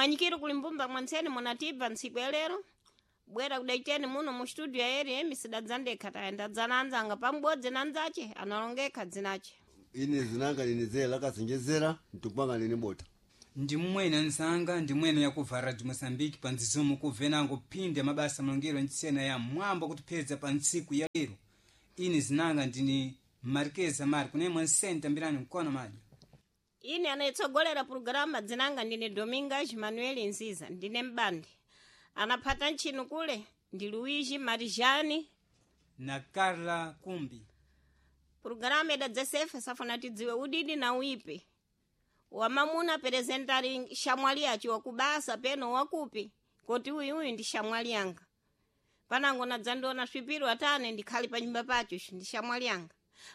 Mwanyikiro kuli mbumba mwanseni munatibva ntsiku ya lero bwera kudaiteni muno mu studio ya RM sidadzandekha tayenda anzanga pamubodzi na nzache analongekha dzinache. Ine zinanga ninizera lakasenjezera mtupanga nini bota. Ndi mmwene anzanga ndi mwene yakuva Radio Moçambique pa nzizomo kuvenango phindi mabasa malongero ntsena ya mwambo kutiphedza pa ntsiku ya lero. Ine zinanga ndini Marquesa Marco nemwe nsenta mbirani mkono madyo. Ine anayitsogolera programa dzinanga ndine Domingas Manuel Nziza ndine mbandi. Anaphata ntchino kule ndi Luigi Marijani na Carla Kumbi. Programa idadzesefe safuna tidziwe udidi na uipi. Wamamuna perezentari shamwali yacho wakubasa peno wakupi koti uyu uyu ndi shamwali yanga. Panango nadzandiona swipiro atane ndikhali pa nyumba pacho icho ndi shamwali yanga.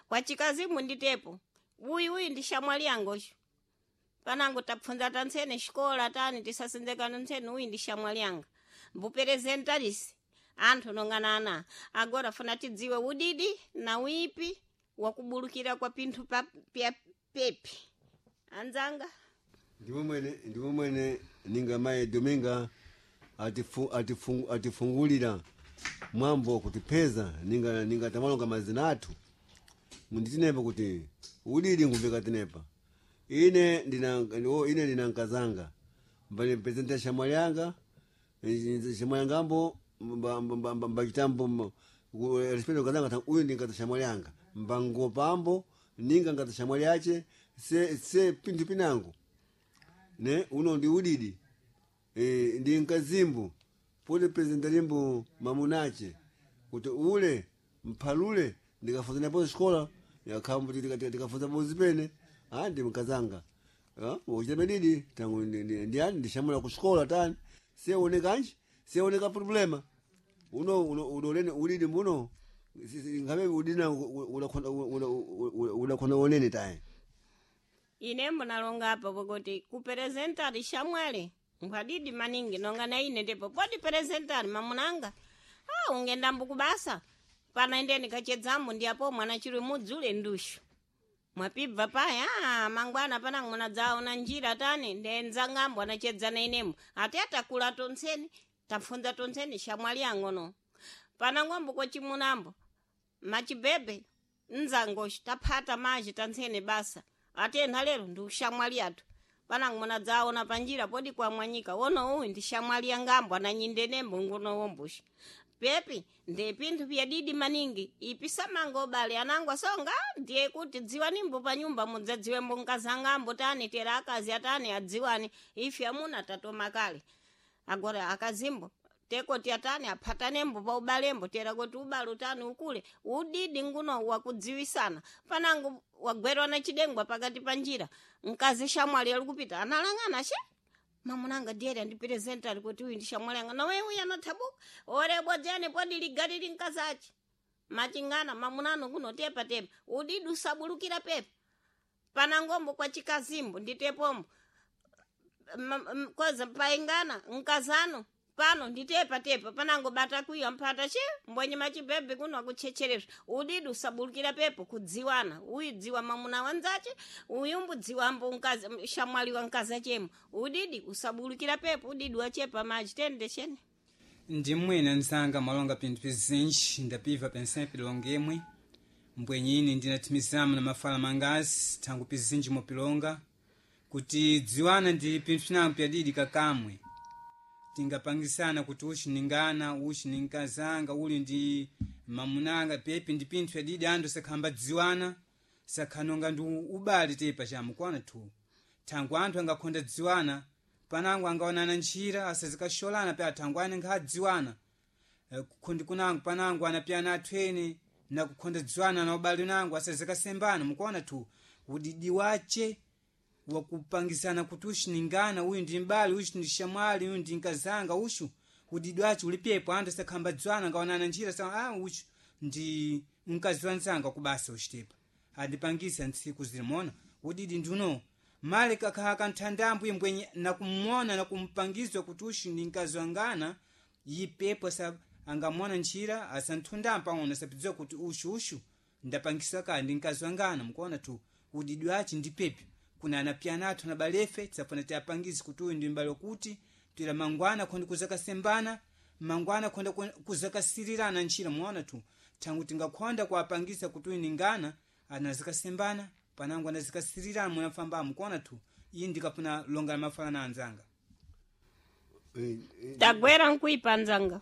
Kwa chikazimu nditepo uyu uyu ndi shamwali yanga uyu. Panango tapfunza tantsene xikola tani tisasenzekana ntsene uyu ndi shamwali yanga. Mbuperezentarisi anthu nonganana agora funa tidziwe udidi na uipi wakubulukira kwa pinthu pa pya pepi. Anzanga Ndimwe mwene ninga maye Dominga atifungulira mwambo kutipeza ninga tamalonga mazina athu. Munditinepa kuti udidi ngumveka tinepa. Ine ndina ine ndina nkazanga. Mbali presenta shamwali yanga shamwali yangambo mbachitambo respeto nkazanga uyu ndi nkaza shamwali yanga. Mbangopambo ninga nkaza shamwali yache se pinthu pinango. Ne uno ndi udidi. Ndi nkazimbo poti presenta limbo mamunache kuti ule mphalule ndikafunza napo xikola yakhambo tikafunza bozi pene ndi mkazanga uchita medidi tangu ndiyani ndishamula kuxikola tani seonekanji seoneka problema uno udolene udidi mbuno ngabe udina udakhona onene taye. Ine mbonalonga apa pakuti kuperezentari shamwali nkhwadidi maningi nonga na ine ndipo poti perezentari mamunanga ungendambo kubasa pana indeni kachedzambo ndi apo mwana chiri mudzule ndushu mwapibva paya mangwana pana munadzaona njira tani ndenzangambo anachedzana inemo ati atakula tontseni tapfunza tontseni shamwali yangono panangombo kwachimunambo machibebe nzangoxi taphata maji tantsene basa atena lero ndi ushamwali athu panango munadzaona panjira podi kwamwanyika wono uyu ndi shamwali yangambo ananyindenembo ngono wombuxi pepi ndi pinthu pyadidi maningi ipi samanga ubale anango asonga ndiye kuti dziwanimbo pa nyumba mudzadziwembo nkazangambo tani tera akazi atani adziwani ife amuna tatoma kale agora akazimbo tekoti atani aphatanembo pa ubalembo tera kuti ubale utani ukule udidi nguno wakudziwisana panango wagwerwa na chidengwa pakati pa njira mkazi shamwali alikupita analang'ana she mamunanga ndiye andipresentari kuti uyu ndi shamwali yanga nawe uyu anathabuka orebodzene podi ligari linkazachi machingana mamunano kuno tepa tepa udidi usabulukira pepa panangombo kwa chikazimbo nditepombo koza paingana nkazano pano nditepa tepa panango bata kuya mphata che mbwenye machibhebhe kuno akuchecherezwa udidi usabulukira pepo kudziwana uyu dziwa mamuna wanzache uyu mbudziwambo mkazi shamwali wa mkazi chemo udidi usabulukira pepo udidi wachepa maji tende chene. Ndi mmwene anzanga malonga pinthu pizinji ndapiva pensempe longemwe mbwenye ine ndinathimizamo na mafala mangazi thangu pizinji mopilonga kuti dziwana ndi pinthu pinango pyadidi kakamwe tingapangisana kuti uchi ningana uchi ninkazanga uli ndi mamunanga pepi ndi pinthu pyadidi anthu sakhamba dziwana sakhanonga ndi ubale tepa chamukwana thu thangu anthu angakhonda dziwana panango angaonana ntchira asazikasholana pe athangu ane nkhadziwana kukhondi kunango panango anapyana athwene nakukhonda dziwana na ubale unango asazikasembana mukuona thu udidi wache wakupangisana kuti uchi ningana uyu ndi mbali uchi ndi shamwali uyu ndi nkazanga uchu udidi wache ulipepo anthu asakhamba dziwana ngaonana njira sa uchu ndi mkazi wanzanga kubasa uchitepa andipangisa ntsiku zilimona udidi ndiuno male kakhala kanthandambo imbwenye nakumona nakumpangizwa kuti uchu ndi mkazi wangana ipepo angamona ntchira asanthundambo ang'ono asapidziwa kuti uchu ndapangisa kale ndi mkazi wangana mukuona tu udidi wache ndi pepi. Kuna anapyana athu na balefe tisafuna tiapangize kuti uyu ndi mbale kuti twira mangwana khondi kuzakasembana mangwana khonda kuzakasirirana ntchira mwaona tu thangu tingakhonda kuapangisa kuti uyu ningana anazikasembana panango anazikasirirana munafambamo kuona tu iyi ndikafuna longa la mafala na anzanga. Tagwera nkuipa nzanga.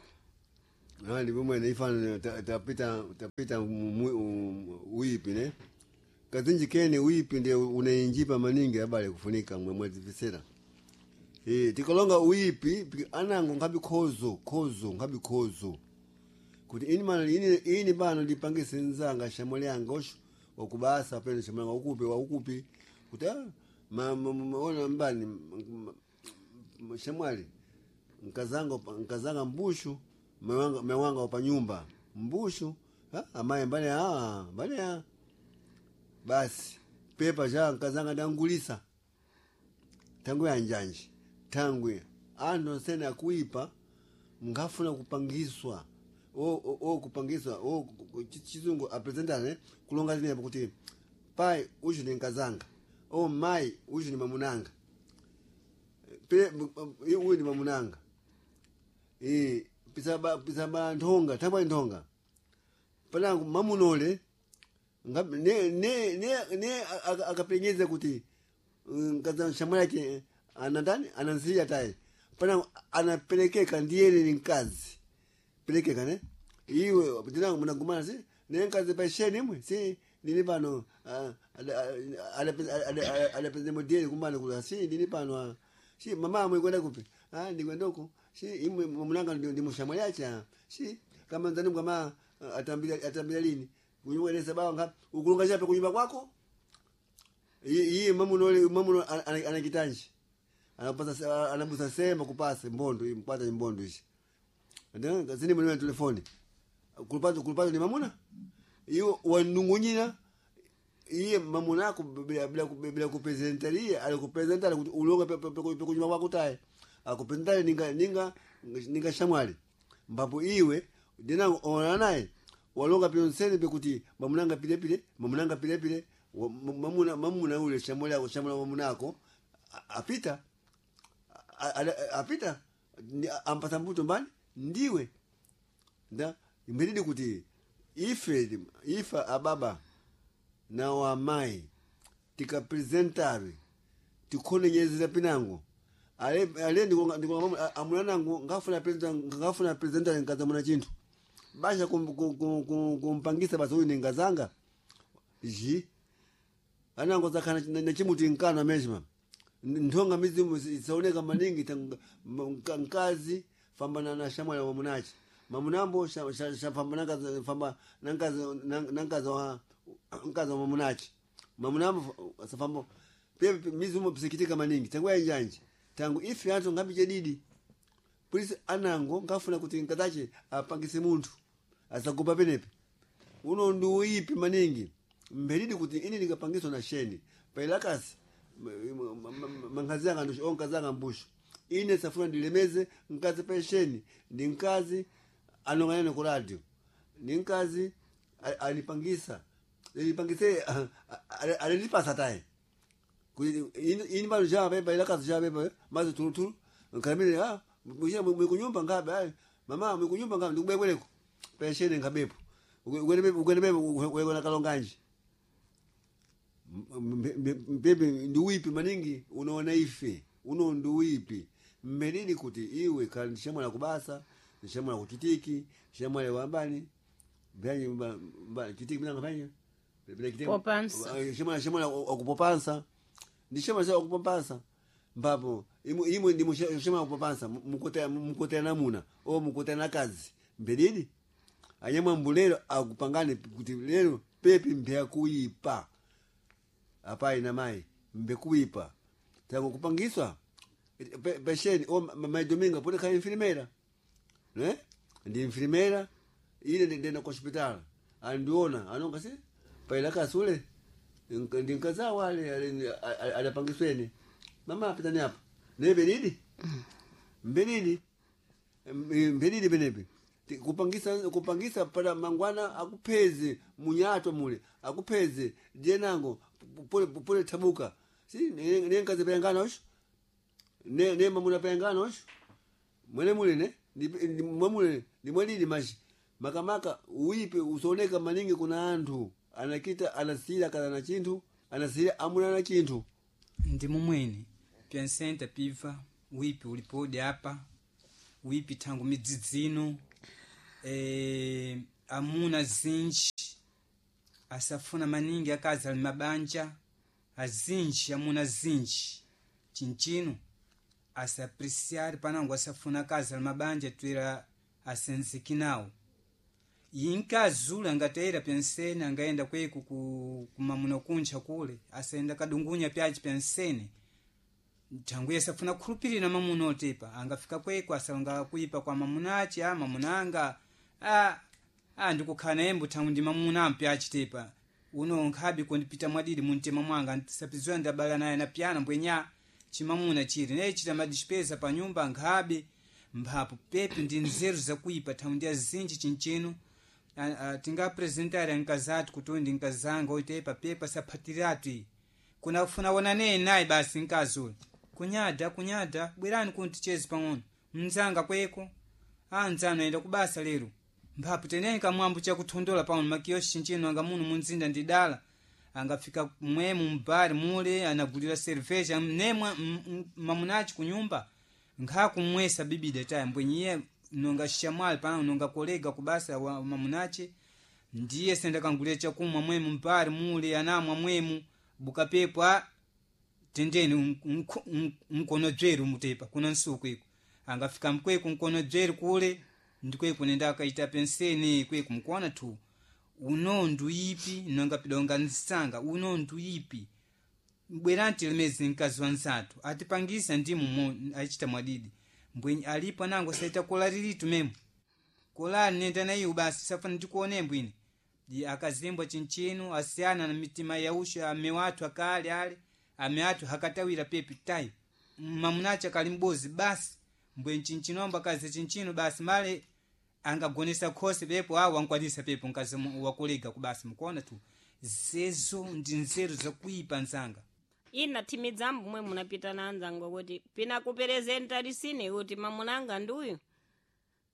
Ndi pomwene ifana tapita tapita uipi ne kazinji kene uipi ndiye unainjipa maningi abale kufunika mwe mwadzivisera. Tikalonga uipi anango ngabi khozo khozo ngabi khozo kuti ini mana ini bano ndipangise nzanga shamwali yanga osho wakubasa pene shamwali yanga ukupi wa ukupi kuti ona mbani shamwali nkazanga nkazanga mbushu mewanga wapa nyumba mbushu amaye mbane mbane basi pepa cha nkazanga ndangulisa tangu ya njanji tangwe anthu onsene akuipa ngafuna kupangiswa o kupangiswa o chizungu apresentane kulonga zinepo kuti pai uchu ni nkazanga o mai uchu ni mamunanga pe uyu ni mamunanga pisaba nthonga thangwa nthonga panango mamunole ne ne ne ne akapenyeza kuti nkaza shamwali yake anandani anansiya tayi panango anapelekeka ndiyene ni mkazi pelekeka ne iwe tinango munagumana si ne mkazi paisheni imwe si ndini pano adapeza modeli kumbana kula si ndini pano si mama mwikwenda kupi ndikwenda uku si imwe mamunanga ndi mushamwali yache si kama nzani kama atambira lini kunyumba bawa nga ukulunga chape kunyumba kwako iye mamunole mamuno anakitanji anapasa anabusa sema kupasa mbondo mpata mbondo ishi ndio zini mwenye telefoni kulupata kulupata ni mamuna iyo wanungunyina iye mamuna ako bila bila bila kupresentaria alikupresentari kuti ulonga pe kunyumba kwako taye akupresentari ninga ninga ninga shamwali mbapo iwe dinango onana naye walonga pyonsene pekuti mamunanga pilepile mamunanga pilepile mamuna mamuna ule shamwali ako shamwali mamuna ako apita apita ampasa mbuto mbani ndiwe nda imbiridi kuti ife ife ababa na wamai tikapresentare tikhonyenyezera pinango ale ale ndikonga amuna nango ngafuna present ngafuna presentare nkazamuna chinthu basha kumpangisa basi uyu ningazanga ji anango zakhana nachimuti nkano ameshima nthonga mizimu isaoneka maningi nkazi fambana na shamwali wa munachi mamunambo shafamba famba nankazi nankazi wa nkazi wa mamunachi mamunambo safamba pia mizimu pisikitika maningi tangu yanjanje tangu ife anthu ngabi didi polisi anango ngafuna kuti nkazache apangise munthu asagopa penepe uno ndi uipi maningi mbelidi kuti ini ndingapangiswa na sheni pailakasi mankazi anga ndushu onkazi anga mbushu ine safuna ndilemeze mkazi pensheni ndi mkazi anong'anene ku radio ndi mkazi alipangisa alipangise alilipasa taye ini pano chapepa ilakazi chapepa mazi tulutulu nkalamile mwikunyumba ngabe ayi mama mwikunyumba ngabe ndikubwekwereko pensheni nkabepo ukwenepepo wekona kalonganji mpepe ndiwipi maningi unaona ife uno ndiwipi mmelini kuti iwe kali ndishamwala kubasa ndishamwala kuchitiki ndishamwala wambani chitiki minanga panyi Popansa. shamwala wakupopansa ndishamwala wakupopansa mbapo imwe ndi shamwala wakupopansa mukotera namuna o mukotera nakazi mbelini anyamwambu lero akupangane kuti lero pepi mbyakuipa apai na mai mbekuipa tangu kupangiswa pesheni o maidominga pode khala infilimera ne ndi infilimera ile ndenda ku hospital andiona anonga si paila kasule ndi nkazawo ale adapangisweni mama apitani apa ne belidi mbelidi mbelidi penepe kupangisa kupangisa pada mangwana akupheze munyato mule akupheze dienango pole pole tabuka Si ne nkazi pengana osho. Ne mamuna pengana osho. Mwene mule ne mwamule ni mwalili mashi. Makamaka uipe usoneka maningi kuna anthu anakita anasira kana na chinthu anasira amuna na chinthu. Ndi mumwene pyensenta piva wipi ulipodi apa wipi thangu midzidzino amuna zinji asafuna maningi akazi ali mabanja azinji amuna zinji chinchino asapreciare panango asafuna akazi ali mabanja twera asenzeki nawo inkazula angatera pensene angaenda kweku kumamuna kuncha kule asaenda kadungunya pyachi pensene nthangu safuna kukhulupirira mamuna otepa angafika kweko asalonga kuipa kwa mamuna achi a mamuna anga a ndikukhala naye mbuthangu ndi mamuna ampyachi tepa uno nkhabi kundipita mwadidi mumtima mwanga sapiziwa ndabala naye na pyana mbwenya chimamuna chiri naye chita madispesa pa nyumba nkhabi mphapo pepe ndi nzeru zakuipa thangu ndi azinji chinchino tingapresentare ankazathu kuti uyu ndi nkazanga oitepa pepa saphatiratu iyi kunafuna wonaneni naye basi mkazi uyu kunyada kunyada bwerani kuti ticheze pang'ono mnzanga kweko anzanu ayenda kubasa lero mphapo teneni kamwambo chakuthondola pano makiyoshi chinchino anga muno munzinda ndidala angafika mwemu mbari mule anagulira cerveja mnemwa mamunachi kunyumba nkhakumwesa bibida taya mbwenyiye nonga shamwali pana nonga kolega kubasa wa mamunachi ndiye senda kangulira chakumwa mwemu mbari mule anamwa mwemu bukapepo a tendeni mkono dzweru mutepa kuna nsuku iko angafika mkweku mkono dzweru kule ndikweku nenda akaita penseni kweku mkuona tu uno nduipi nonga pidonga nsanga uno nduipi bwerani tilemezi mkazi wa nzathu atipangisa ndimu achita mwadidi mbwenyi alipo anango saita kola lilitu memo kolali nenda na iwo basi safuna ndikuone mbwini di akazimbwa chinchino asiyana na mitima yausha ame wathu akale ale ame athu hakatawira pepi tayi mamunacha kali mbozi basi mbwenyi chinchino amba kazi chinchino basi male angagonesa khosi pepo awo ankwanisa pepo mkazi wakulega kubasi mukuona tu zezo ndi nzeru zakuipa nzanga Ina timidzambo mwe munapita na anzango kuti pina kuperezenta lisine kuti mamunanga nduyu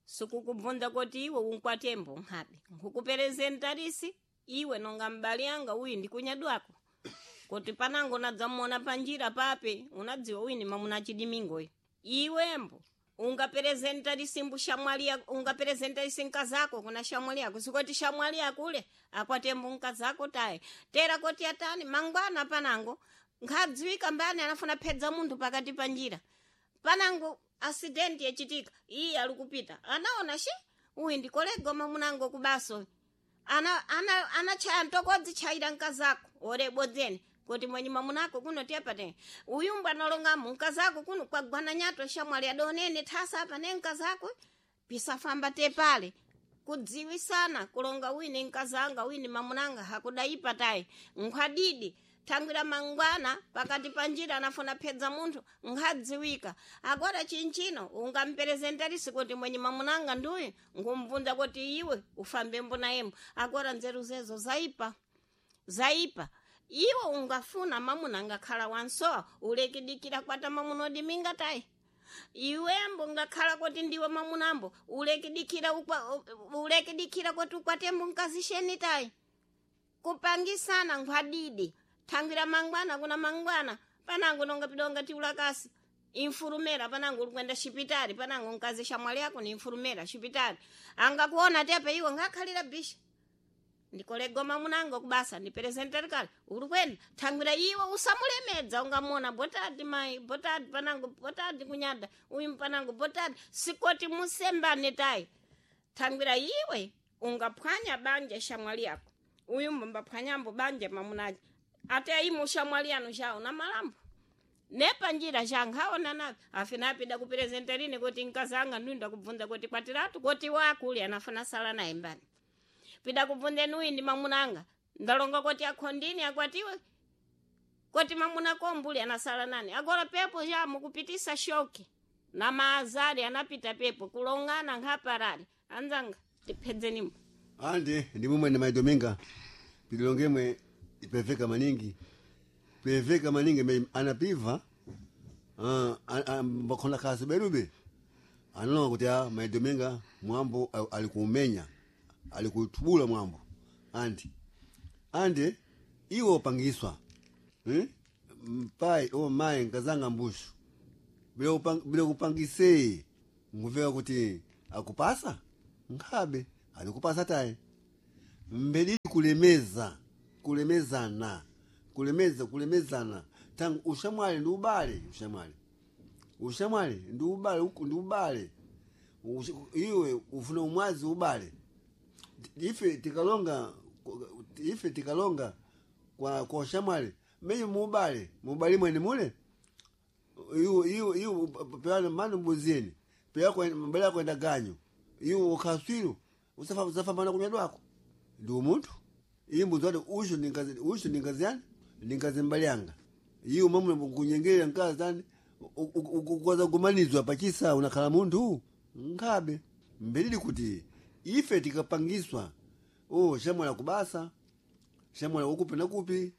sikukubvunza kuti iwe unkwatembo nkhabe nkukuperezenta lisi iwe nonga mbali yanga uyu ndikunyadwako kuti panango unadzamuona panjira pape unadziwa uyu ni mamuna chidimingoyo iwembo ungaperezenta lisimbu shamwali yako ungaperezenta lisi nkazako kuna shamwali yako sikoti shamwali yako ule akwatembo nkazako taye tera koti atani mangwana panango nkhadziwika mbani anafuna phedza munthu pakati pa njira panango asidenti yachitika iye alikupita anaona shi uyu ndikolega mamunango kubaso ana ana anachaya ntokodzi chayira nkazako orebodzeni kuti mwenye mamunako kuno tiyapate uyumbu analongamo nkazako kuno kwagwana nyato shamwali adonene thasa apa ne nkazako pisafamba tepale kudziwisana kulonga wini nkazanga wini mamunanga hakudaipa tayi nkhwadidi thangwira mangwana pakati pa njira anafuna phedza munthu nkhadziwika agora chinchino ungamperezentarisi kuti mwenye mamunanga nduyu nkumvunza kuti iwe ufambe mbonayemo agora nzeru zezo zaipa zaipa iwe ungafuna mamuna angakhala wansowa ulekidikira kwata mamuna odiminga tayi iwembo ngakhala kuti ndiwe mamunambo ulekidikira ukwa ulekidikira kuti ukwatembo nkazisheni tayi kupangisana nkhwadidi thangwira mangwana kuna mangwana panango nonga pidonga tiulakasi infurumera panango ulikwenda xipitali panango nkazi xamwali yako ni infurumera xipitali angakuona tepe iwe ngakhalira bisha ndikolega mamunango kubasa ndiperezentere kale ulikwenda thangwira iwe usamulemedza ungamona botadi mai botadi panango botadi kunyada uyu panango botadi sikoti musembane tayi thangwira iwe ungaphwanya banja xamwali yako uyu mbambaphwanyambo banja mamunaji ate aimo xamwali yanu xawo na malambo nepanjira xankhaona navi afina apida kuperezenterini kuti nkazanga ndunda kubvunza kuti kwatiratu kuti wakuli anafuna sala naye mbani pida kubvunzeni uyu ndi mamunanga ndalonga kuti akhondini akwatiwe kuti mamuna kombuli anasala nani agora pepo ja mukupitisa shoki na maazari anapita pepo kulongana nkhaparali anzanga tiphedzenimo andi ndi mumwe ndi maidominga pililongemwe ipeveka maningi. Peveka maningi me anapiva mbakhona kasi berube analonga kuti a maidominga mwambo alikuumenya alikutubula mwambo andi andi iwo pangiswa Mpai o mai nkazanga mbushu bila kupangisei nguveka kuti akupasa nkhabe alikupasa tayi mbelili kulemeza kulemezana kulemeza kulemezana tangu ushamwali ndi ubale ushamwali ushamwali ndi ubale ndi ubale iwe ufuna umwazi ubale ife tikalonga ife tikalonga kwa ushamwali menye muubale muubale mwene mule iwe iwe iwe peana manu mbuzini peya mbele kwenda ganyo iwe ukaswiru usafa usafambana kunyadwako ndi umunthu iyi mbuzi wati usho ndingazi usho ndingazi yani ndingazi mbali yanga iwe mamuna kunyengerera mkazi tani ukwaza kumanizwa pachisa unakhala munthu nkhabe mbelili kuti ife tikapangiswa o shamwala kubasa shamwala ukupi na kupi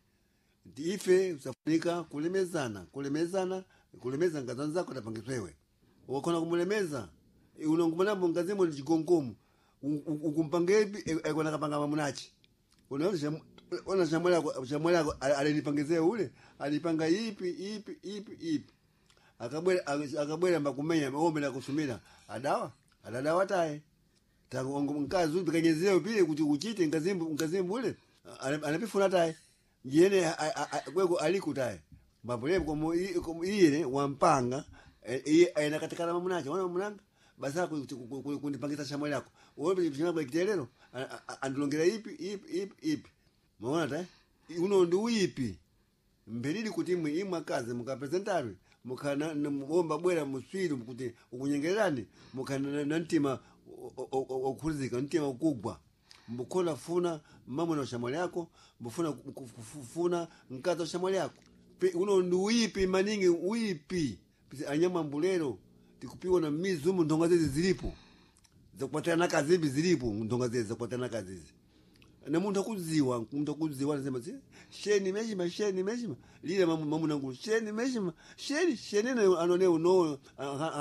ife usafunika kulemezana kulemezana kulemeza ngazi zako tapangiswewe wakhona kumulemeza unongomanambo ngazimo ni chigongomo ukumpangepi ekona kapanga mamunachi unaona ona shamwala shamwala alinipangizie ule alipanga ipi ipi ipi ipi akabwera akabwera mbakumenya ombe na kusumira adawa adadawa taye tangu mkazi upi kanyezeo pile kuti uchite ngazimbu ngazimbu ule anapifuna taye yene kweko aliku taye mbapole komo iyene wampanga iye ainakatikana mamunachi ona mamunanga basa kundipangisa shamwali yako wewe chimwe kitelero andilongera ipi ipi ipi ipi maona ta uno ndi uipi mbelili kuti imwe imwe akazi mukapresentari mukhana omba bwera muswiru kuti ukunyengererani mukhana na mtima okhulizika mtima ukugwa mbukhona funa mamuna ushamwali yako mbufuna kufuna mkazi wa ushamwali yako uno ndi uipi maningi uipi anyama mbulero tikupiwa na mizumu ndonga zezi zilipo zakupatirana kazibi zilipo ndonga zezi zakupatirana kazizi na munthu akudziwa munthu akudziwa anasema sheni meshima sheni meshima lile mamu nangu sheni meshima sheni sheni na anone uno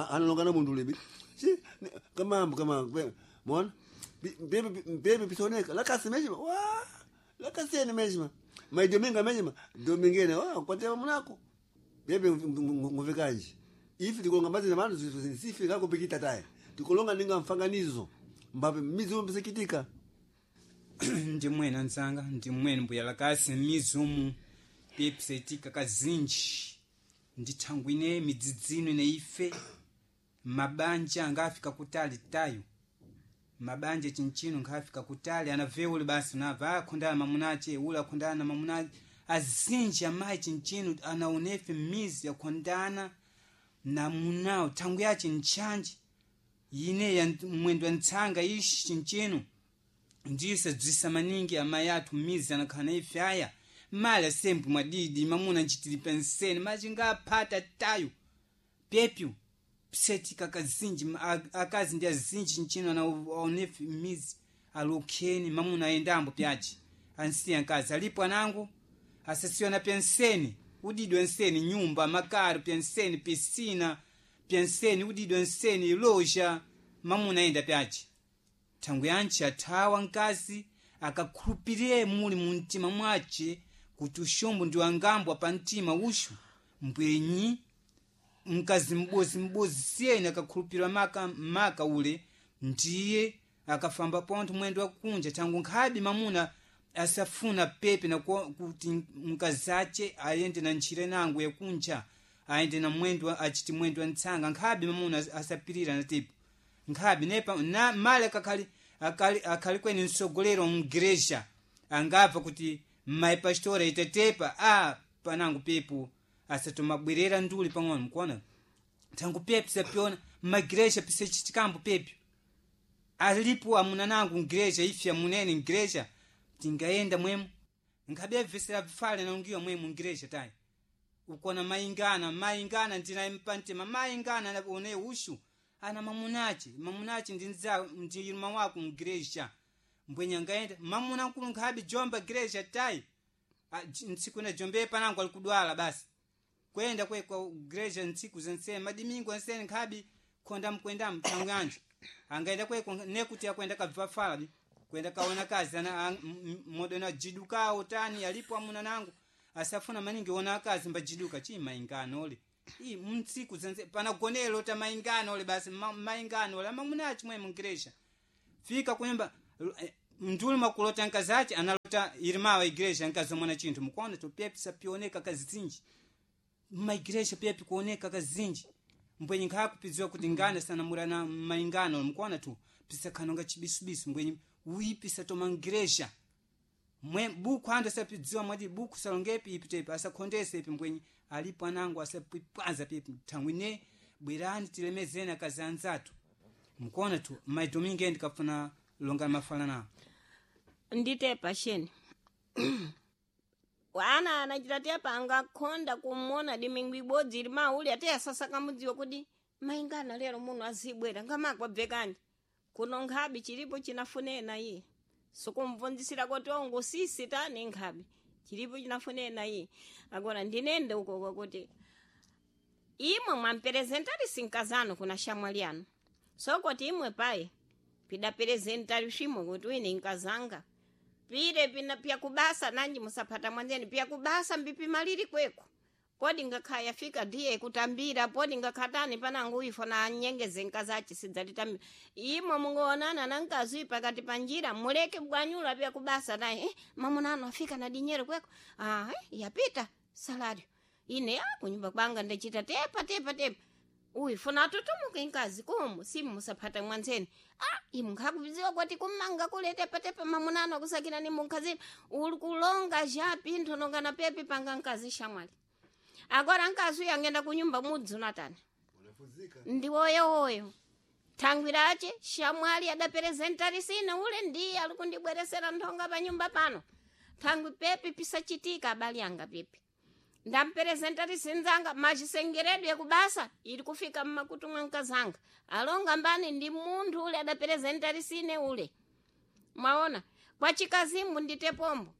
analongana munthu libi shi kama kama mona bebe bebe pisoneka lakasi meshima wa lakasi ene meshima maidominga meshima domingene wa kwatema munako bebe nguvekanje ife tikulonga mazina manu sife kakupikita taye tikulonga ninga mfanganizo mbape mizumu pisikitika Ndi mwene anzanga, ndi mwene mbuya lakasi mizumu pipisetika kazinji ndi thangwi ine midzidzino ine ife mabanja angafika kutali tayo mabanja chinchino nkhafika kutali anaveule basi unabva akhondana mamunache ule akhondana na mamunache azinji amayi chinchino anaonefe mizi akhondana na munawo thangwi yache ntchanji ine ya mwendo wa ntsanga ishi chinchino ndisadzwisa maningi amayi athu mizi anakhala ife aya mali asembu mwadidi mamuna ncitili penseni machingaphata tayo pepyu psetika kazinji akazi ndi azinji nchino anaonefe mizi alokheni mamuna ayendambo pyaci ansiya nkazi alipo anangu asasiwa na penseni udidwe nseni nyumba makaro penseni pisina penseni udidwe nseni loja mamuna ayenda pyaci thangwi yantchi athawa nkazi akakhulupirire muli mu mtima mwace kuti uxombo ndi wangambwa pa mtima uxu mbwenyi mkazi m'bozi m'bozi siyeni akakhulupirira maka, maka ule ndiye akafamba pontho mwendo wakunja thangu nkhabe mamuna asafuna pepe na kuti mkazi ace ayende na ntchire nangu yakunja ayende na mwendo achiti mwendo wa ntsanga nkhabe mamuna asapirira na tipo nkhabe nepa na male akakhali akali akhali kweni msogolero mgereja angabva kuti mayi pastora itetepa a panangu pepo asatomabwerera nduli pang'ono mkuona thangu pepo sapyona mmagereja pisechitikambo pepo alipo amuna nangu mgereja ife amunene mgereja tingayenda mwemo nkhabe abvesera bvale naungiwa mwemo mgereja tayi ukona mayingana mayingana ndinaye mpantema mayingana one ushu ana mamunache mamunache ndi nza ndi irma wako mgereja mbwenya ngaenda mamuna nkulu nkhabe jomba gereja tayi Ntsiku ina jombe panango alikudwala basi kwenda kwe kwa igreja ntsiku zensene madimingo ensene nkhabi khonda mkwendamu thangu yanje angaenda kweko nekuti akwenda kabva fala bi kwenda kaona kazi ana modona jidukawo tani alipo amuna nangu asafuna maningi ona akazi mbajiduka chi maingano ole i mtsiku zense panagonelo ta maingano ole basi maingano ole amamuna chimwe mungresha fika kunyumba mndulu makulota nkazachi analota irimawa igreja nkazomona chinthu mukuona topepisa pioneka kazinji maigreja pepi kuoneka kazinji mbwenye nkhakupidziwa kuti ngana sanamurana maingano mukuona tu pisakhanonga chibisubisu mbwenye uipisa tomangreja mwe buku ando sapidziwa mwati buku salongepi ipi tepi asakhondese ipi mbwenye alipo anango asapipwaza pipi thangwine bwerani tilemezeni akazi anzathu mukuona tu maidominge ndikafuna longa mafala nawo Nditepa sheni ana anachita tepa angakhonda kumona dimingu ibodzi ili mauli ate asasa kamudziwa kuti maingana lero muno azibwera ngamakwabvekani kuno nkhabi chilipo chinafunena iye sikumvunzisira kuti ongo sisi tani nkhabi chilipo chinafunena iye agora ndinende ukoko kuti imwe mwamperezentari sinkazano kuna shamwali anu sokoti imwe paye pidaperezentari swimwe kuti wine nkazanga pile pina pyakubasa nanji musapata mwanzeni pyakubasa mbipimaliri kweko podi ngakhaya yafika ndiye kutambira podi ngakhatani panangu ifo na anyengeze nkazachi sidzalitambira imwe mungoonana na nkazi pakati pa njira muleke bwanyula pyakubasa naye mamunano afika na dinyero kweko ah, yapita salario ine kunyumba kwanga ndachita tepa tepa tepa uyu funa atutumuke nkazi kumu simu musapata mwanzeni ah imu nkhakudziwa kuti kumanga kule tepa tepa mamunano akusakira ni munkhazini uli kulonga ja pinthu nongana pepi panga nkazi shamwali agora nkazi uyu angenda kunyumba mudzi unatani Unafuzika. ndi woyowoyo thangwi lace shamwali adaperezentari sina ule ndiye ali kundibweresera nthonga pa nyumba pano thangwi pepi pisachitika abali anga pepi ndamperezentari sinzanga machisengeredwe ekubasa ili kufika mmakutu mwa nkazanga alonga mbani ndi munthu ule adaperezentari sine ule mwaona kwa chikazimu ndite pombo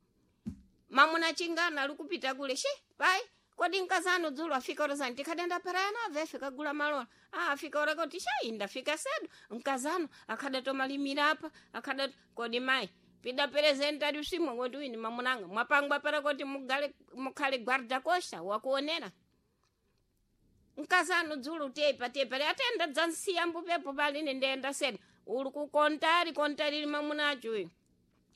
mamuna chingana ali kupita kule she pai kodi nkazanu dzulo afika orozani tikhadenda parayana avefe kagula malola ah afika ora kuti shai ndafika sedu nkazanu akhadatomalimira apa akhada kodi mai pida perezentari usimwe koti wini mamunanga mwapangwa para kuti mugale mukhale guarda costa wakuonera nkazanu dzulo tepa tepa atenda dzansiya mbupepo paline ndenda sedu uli kukontari kontari li mamunacho uyu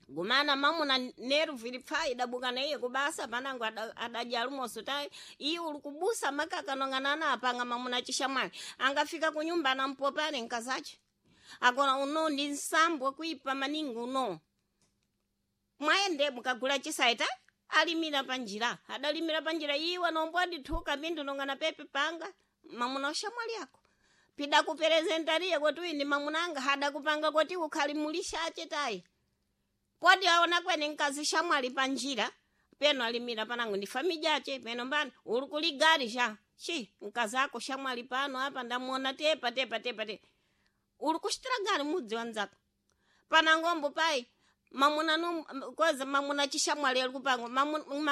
gumana mamuna nervu ili pfa idabuka na iye kubasa panango adadya lumoso tayi iye uli kubusa makaka nonganana apanga mamuna chishamwali angafika kunyumba anampopale nkazache agora uno ndi nsambo kuipa maningi uno mwayende mukagula chisaita alimira panjira adalimira panjira iwe nombo adithuka pindu nongana pepe panga mamuna ushamwali ako pida kuperezentariye kuti uyu ndi mamunanga hadakupanga kuti ukhali mulishache tayi podi aona kwene nkazi shamwali panjira peno alimira panango ndi famijache peno mbani uli kuligari sha chi nkazi ako shamwali pano apa ndamuona tepa tepa tepa tepa uli kuchitira gari mudzi wanzako panangombo pai mamuna no koza mamuna chishamwali ali kupangwa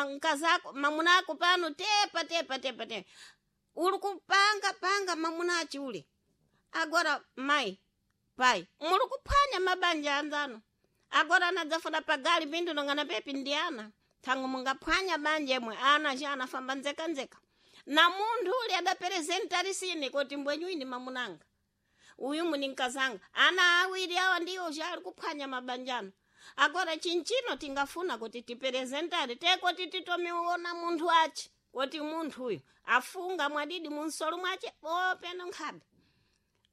mkazi ako mamuna ako pano tepa tepa tepa tepa uli kupanga panga mamuna achi ule agora mai pai muli kuphwanya mabanja anzano agora anadzafuna pagali pindu nongana pepi ndi ana thangu mungaphwanya banja imwe ana cha anafamba nzekanzeka na munthu ule adaperezentari sine kuti mbwenyu ine mamunanga uyu muni nkazanga ana awiri awa ndiwo chali kuphwanya mabanjano agora chinchino tingafuna kuti tiperezentari tekoti titomiona munthu achi kuti munthu uyu afunga mwadidi munsolo mwache openo nkhabe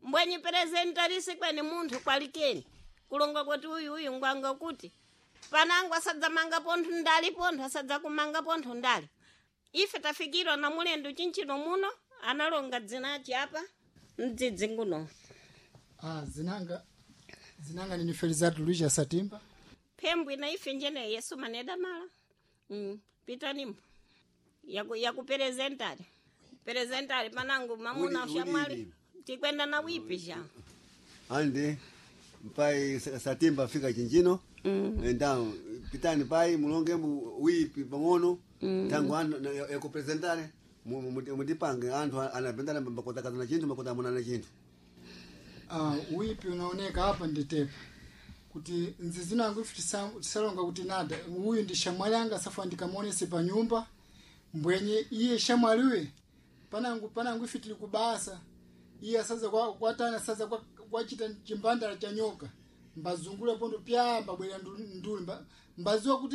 mbwenyi perezentarisi kweni munthu kwalikeni kulonga kuti uyu uyu ngwanga kuti panango asadzamanga pontho ndali pontho asadzakumanga pontho ndali ife tafikirwa na mulendo chinchino muno analonga dzinachi apa mdzidzi nguno Ah, zinanga zinanga nini Felizardo Luis Satimba. phembwi na ife njene yesu maneda mala pitanimbo yakuperezentari perezentari panango mamuna Uli- shamwali uli- tikwenda na wipi ja andi mpai satimba afika chinjino enda Pitani pai mulonge wipi pang'ono tangu anthu yakupresentare mutipange anthu anapendana mbakotakazana chinthu mbakotamunana chinthu. Wipi unaoneka apa nditepa kuti nzizinango ife tisalonga kuti nada uyu ndi shamwali anga safa ndikamuonese pa nyumba mbwenye iye shamwaliwe panangu ife tili kubasa iye asaza kwatana asaza kwachita chimbandala cha nyoka mbazungula pondo pya mbabwera nduli mbaziwa kuti.